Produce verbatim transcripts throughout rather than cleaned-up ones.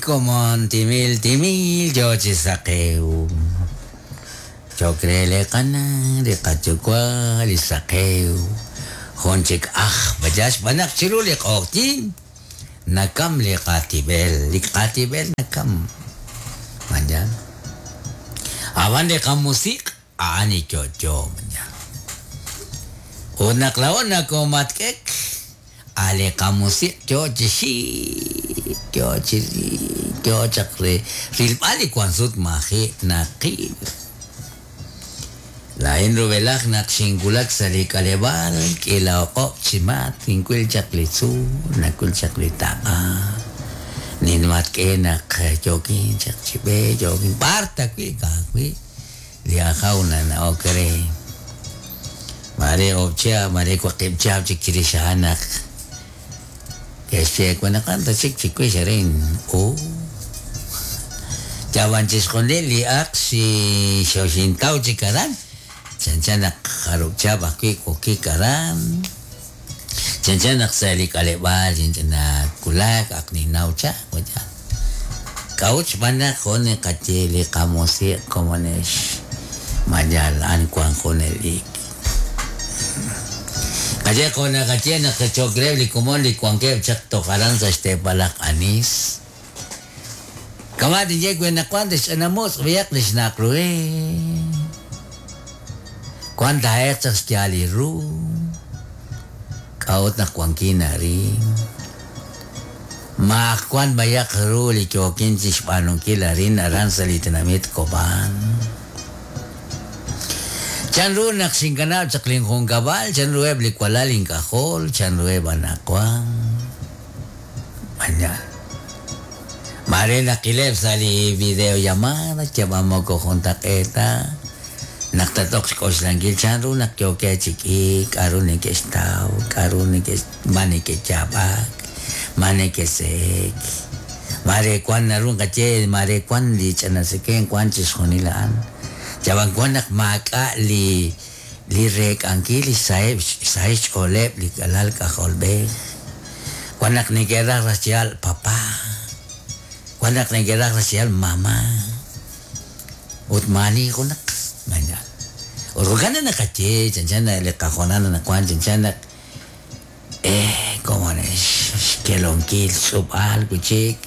komon timil timil yo chi saqew. Chokre le qana li qayuwa' li saqew. Jun chik aj bayax b'anaq chiru li q'oqyin nakam li qatib'el, li qatib'el nakam. Mañana. Aban li qamusiq' a'an yo'yo mañana. Ut naq laa'o nakomatk'ek ale qamusiq' yo chi xik, yo chi yo chaq re rilb'al li wank sut maji' naqil. Laa'in rub'elaj naq xinwulak sa' li k'aleb'aal k'iila oq'ob' chi mat kinwil chaq li tzuul, nawil chaq li taq'a. Ninmatk'e naq yookin chaq chi b'e, yookin b'ar tawi' ka'ajwi' li ajaw nana'ok re. Mare oob' chihab', mare waqib' chihab' chik chirix a'an naq ke'xye wanaqan ta chik chiwix arin. Oh. Yawan chixjunil li aq xi xoxintaw chik aran. Chanchan naq jarub' chihab' ajwi' wokik aran. Chanchan naq sa' li k'aleb'aal nakulak aq ninnaw chaq waya. K'a'ut xb'aan naq jun qaye li qamusiq' komonex mayal an wan junelik. Qaye jun qaye naq chokreb li komon li wankeb' chaq toj aran sa' xteepal aj anis. Kama tinye we naq wan tixch'anamutz' b'iyaq li xnaq ruhe. Wan taa'eq chaq xyaal li ru. K'a'ut naq wankin arin. Maaq wan bayaq ru li yookin chi xb'aanunkil arin aran sa' li tinamit Cobán. Chan ru naq xinkanab' chaq linjunkab'al, chan ruheb' li walal ink'ajol, chan ruheb' anaqwan. Mañana. Mare naqileb' sa' li videollamada yab'amoko juntaq'eeta. Naq tatoq xk'oxlankil chan ru naq yookeb' chi k'iik, k'a'ru neke'xtaw, k'a'ru neke'x ma neke'yaab'ak, ma neke'se'ek. Mare wan naru nqaye, mare wan li ch'anaseken wan chixjunil a'an. Yab'an wan naq maak'a' li li reek'ankil li saheb' saheb' xch'ooleb' li alal k'ajolb'ej. Wan naq neke'raj raj papá. Wan naq neke'raj raj mamá. Ut maani junaq mañana. Ut jo'kan naq qaye chanchan li qajonal naq wan chanchan naq eh como xkelonkil xtz'ub'al wichik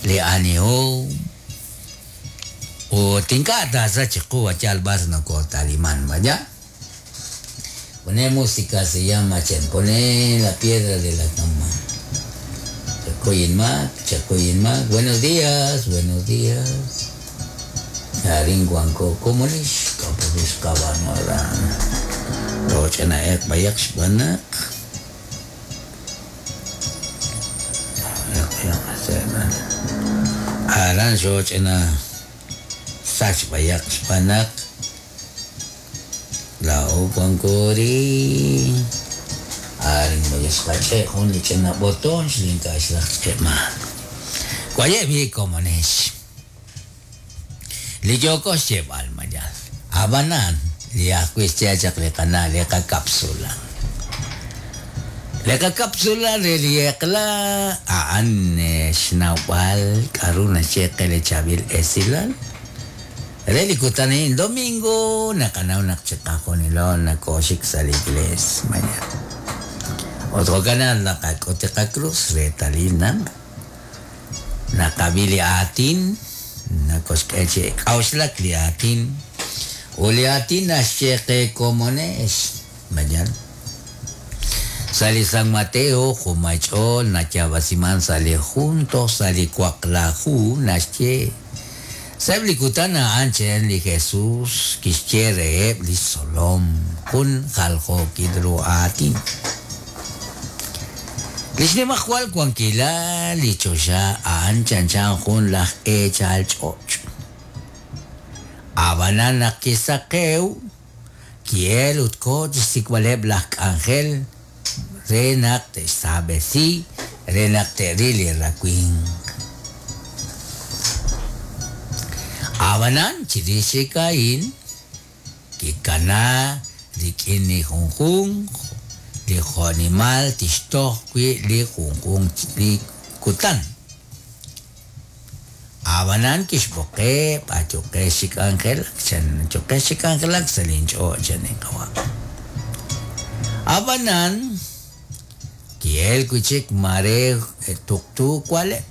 li anihom. Ut ink'a' taasach chiqu yal b'ar nokotaliman, vaya. Pone música se llama Chen, pone la piedra de la cama. Chacoyin Mac, Chacoyin Mac. Buenos días, buenos días. Arin Guanco, ¿cómo lis? Kapulis kabanoran. Rochana ek bayak xbanak. Aran xochana sach bayak xbanak. La Guancori. Arin bayas kache jun lichena botón xlinka xlaj chema. Guaye vi como nesh. Li yoko xyeb'al mayal. Abanan li ajwi' xch'achaq li qana li qakapsula. Li qakapsula re li eqla a'an xnawb'al k'a'ru naxyeqe li chab'il esilal. Re li kutan a'in domingo naqanaw naq chiqajunilo nakoxik sa' li iglesia mañana. Otro canal naqak'ut li qakrus reetalil naq naqab'i li aatin nakoxk'e chi k'a'uxlak li aatin u li aatin naxyeqe komonex mañana. Sa' li San Mateo jumach'ool natyab'asiman sa' li junto sa' li waqlaju naxye. Sa'eb' li kutan a'an chen li Jesús kixye reheb' li xtzolom jun jaljookil ru aatin. Li xnimajwal wankilal li choxa a'an chanchan jun laj eechal ch'och'. Ab'anan naq kisaqew ki'el ut ko chixsik'b'aleb' laj k'anjel re naq te'xsaab'esi re naq te'ril li rawimq. Ab'anan chirix chik a'in kikana rik'in li junjunq li jo'nimal tixtoj wi' li junjunq li kutan. Ab'anan kixb'oqeb', ayuqex chi k'anjelak chan, ayuqex chi k'anjelak sa' linch'och' chan li qawa'. Ab'anan ki'elk wi' chik mare tuqtu wa'leb'.